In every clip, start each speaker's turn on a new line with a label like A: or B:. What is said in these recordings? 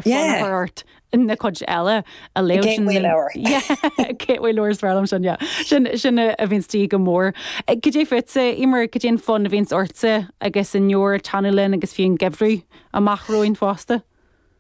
A: Fonn a chur ort na cuid eile a léamh.
B: Gateway leabhar.
A: Yeah, gateway leabhar is fearr liom sin, yeah. Sin, sin a bhíonns de dhíth go mór. Cad é fútsa, Eimear, cad é an fonn a bhíonns ortsa agus an leabhar ag teannadh linn agus fiú an geimhreadh amach romhainn fosta?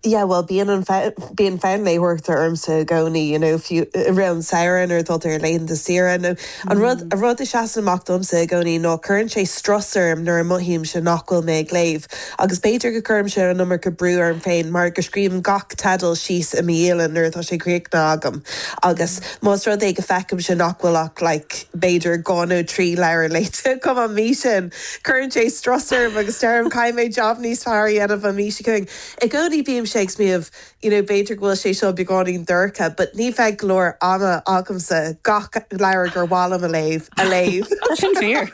B: Yeah, bhuel bíonn an fonn, bíonn fonn léitheoireachta ormsa i gcónaí, you know, fiú i rith an samhradh nuair atá tú ar laethanta saoire nó an rud, an rud a seasann amach domsa i gcónaí ná cuireann sé strus orm nuair a mothaímse nach bhfuil mé ag léamh. Agus b'fhéidir go gcuirimse an iomarca brú orm féin mar go scríobhaim gach teideal síos i mo dhialann nuair atá sé críochnaithe agam agus más rud é go feicimse nach bhfuil ach like b'fhéidir 2 nó 3 leabhar léite agam an mhí sin, cuireann sé strus orm agus deirim caithfidh mé jab níos fearr a dhéanamh an mhí seo chugainn. I gcónaí bímse ag smaoineamh you know b'fhéidir go bhfuil sé seo beagáinín dorcha but ní bheidh go leor ama agamsa gach leabhar gur mhaith liom a léamh, a léamh.
A: Tá sin fíor.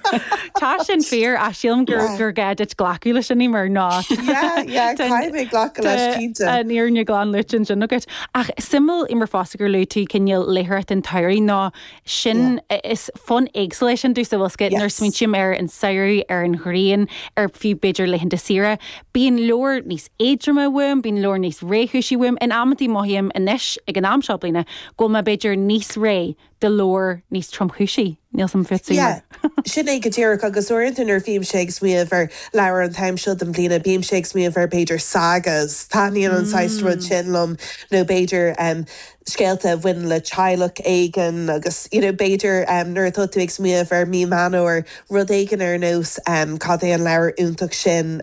A: Tá sin fíor ach sílim gur gur gá duit glacadh leis sin Eimear ná
B: Yeah, yeah, caithfidh mé glacadh leis cinnte.
A: Tá an fhírinne glan luaite ansin agat. Ach suimiúil Eimear fosta gur luaigh tú cineál léitheoireacht an tsamhraidh nó sin is fonn éagsúil é sin domhsa, bhfuil 's agat, nuair a smaointím ar an samhradh, ar an ghrian, ar fiú b'fhéidir laethanta saoire, bíonn leabhar níos éadroime uaim, bíonn leabhar níos réchúisí uaim. In amantaí mothaím anois, ag an am seo bliana, go bhfuil mé b'fhéidir níos réidh do leabhar níos tromchúisí. Níl 's a'm fútsa,
B: Yeah, sin é go díreach agus uaireanta nuair a bhímse ag smaoineamh ar leabhar an t-am seo den bhliana, bímse ag smaoineamh ar b'fhéidir sagas, taitníonn an saghas rud sin liom nó b'fhéidir scéalta a bhaineann le teaghlach éigin agus you know b'fhéidir nuair atá tú ag smaoineamh ar mí Meán Fómhair, rud éigin ar nós cad é an leabhar iontach sin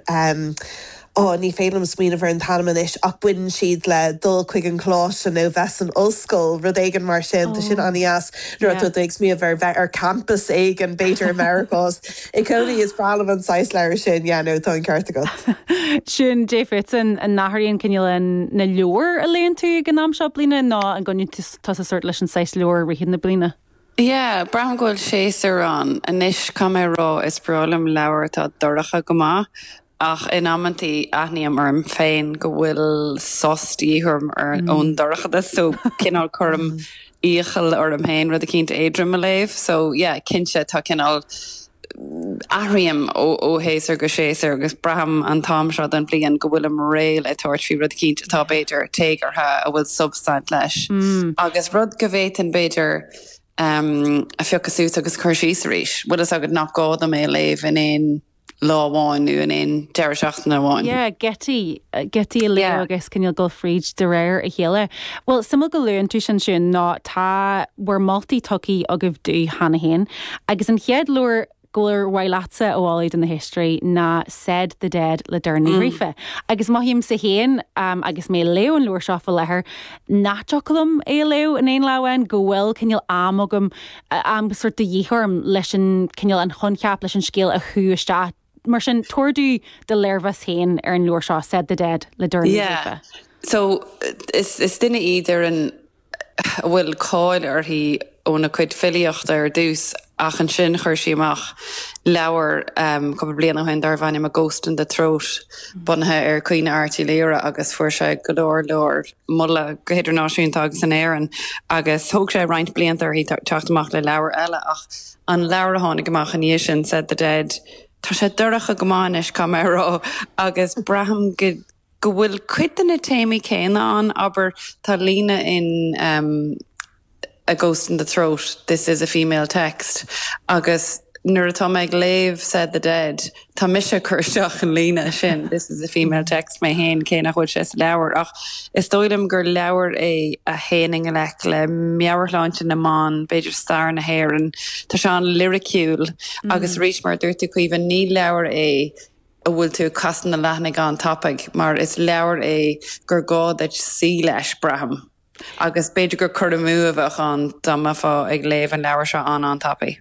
B: oh ní féidir liom smaoineamh ar an t-ainm anois ach baineann siad le dul chuig an choláiste nó bheith san ollscoil, rud éigin mar sin, tá sin an-dheas nuair atá tú ag smaoineamh ar bheith ar campus éigin b'fhéidir i Meiriceá. I gcónaí is breá liom an saghas leabhar sin, yeah no tá an ceart agat.
A: Sin cad é fútsa, an n-athraíonn cineál na leabhair a léann tú ag an am seo bliana nó an gcoinníonn tusa sórt leis an saghas leabhar i rith na bliana?
C: Yeah, braithim go bhfuil séasúr ann. Anois, caithfidh mé a rá, is breá liom leabhair atá dorcha go maith, ach in amantaí aithním orm féin go bhfuil sos de dhíth orm ón dorchadas, so cineál cuirim iachall orm féin rud eicínt éadrom a léamh. So yeah, cinnte tá cineál, athraím ó shéasúr go séasúr agus braithim an t-am seo den bhliain go bhfuilim réidh le tabhairt faoi rud eicínt atá b'fhéidir téagartha, a bhfuil substaint leis agus rud go bhféadfainn b'fhéidir a phiocadh suas agus a chur síos arís. Bhfuil fhios agat nach gá dom é a léamh in aon lá amháin nó in aon deireadh seachtaine amháin.
A: Yeah, giotaí, giotaí a léamh agus cineál dul fríd de réir a chéile. Bhuel, suimiúil go luann tú sin Siún, nó tá bhur moltaí tugtha agaibh domh cheana féin, agus an chéad leabhar gur mhaith leatsa a mholadh do na héisteoirí ná Said the Dead le Doireann Ní Ghríofa. Agus mothaímse féin, agus mé ag léamh an leabhair seo faoi láthair, nach dtiocfadh liom é a léamh in aon lá amháin, go bhfuil cineál am agam, am sórt de dhíth orm leis an cineál an choincheap, leis an scéal a shú isteach. Mar sin, tabhair domh do léirmheas féin ar an leabhar seo, Said the Dead le Doireann Ní
C: Yeah.
A: Ghríofa.
C: So, is is duine í Doireann a bhfuil cáil uirthi óna cuid filíochta ar dtús ach ansin chuir sí amach leabhar cúpla bliain ó shin darbh ainm A Ghost in the Throat bunaithe ar Caoineadh Airt Uí Laoghaire agus fuair sé go leor leor moladh go hidirnáisiúnta agus in Éirinn agus thóg sé roinnt blianta uirthi teacht amach le leabhar eile ach an leabhar a tháinig amach ina dhiaidh sin, Said the Dead, tá sé dorcha go maith anois, caithfidh mé a rá, agus braithim go go bhfuil cuid de na téamaí céanna ann, abair, tá líne in A Ghost in the Throat, this is a female text, agus nuair atá mé ag léamh Said the Dead, tá mise ag cur isteach an líne sin, this is a female text mé féin, cé nach bhfuil sé sa leabhar. Ach is dóigh liom gur leabhar é a théann i ngleic le meabhairshláinte na mban, b'fhéidir stair na hÉireann. Tá sé an-liriciúil agus arís, mar a dúirt tú, Caoimhe, ní leabhar é a bhfuil tú ag casadh na leathanaigh an-tapaidh, mar is leabhar é gur gá duit suí leis, braithim. Agus b'fhéidir gur cur amú a bheadh ann dá mbeifeá ag léamh an leabhair seo an-an-tapaidh.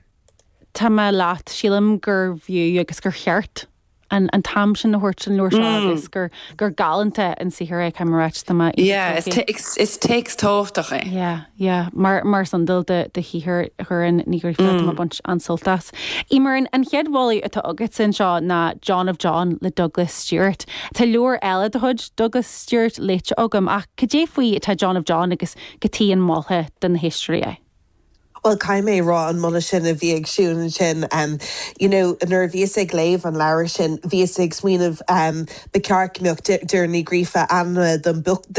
A: Tá mé leat. Sílim gurbh fhiú agus gur cheart an an t-am sin a thabhairt don leabhar seo agus gur gur galánta an saothar é, caithfidh mé a ráit. Tá mé
C: Yeah, is is téacs tábhachtach é.
A: Yeah, yeah. Mar mar is iondúil de de shaothar Dhoireann Ní Ghríofa, tá mé ag baint an-sult as. Eimear, an chéad mholadh atá agatsa anseo ná John of John le Douglas Stuart. Tá leabhar eile de chuid Douglas Stuart léite agam ach cad é faoi atá John of John agus cad chuige an molfá do na héisteoirí é?
B: Bhuel, caithfidh mé a rá, an moladh sin a bhí ag Siún ansin, you know, nuair a bhíos ag léamh an leabhair sin, bhíos ag smaoineamh, ba cheart go mbeadh Doireann Ní Ghríofa ainmnithe don.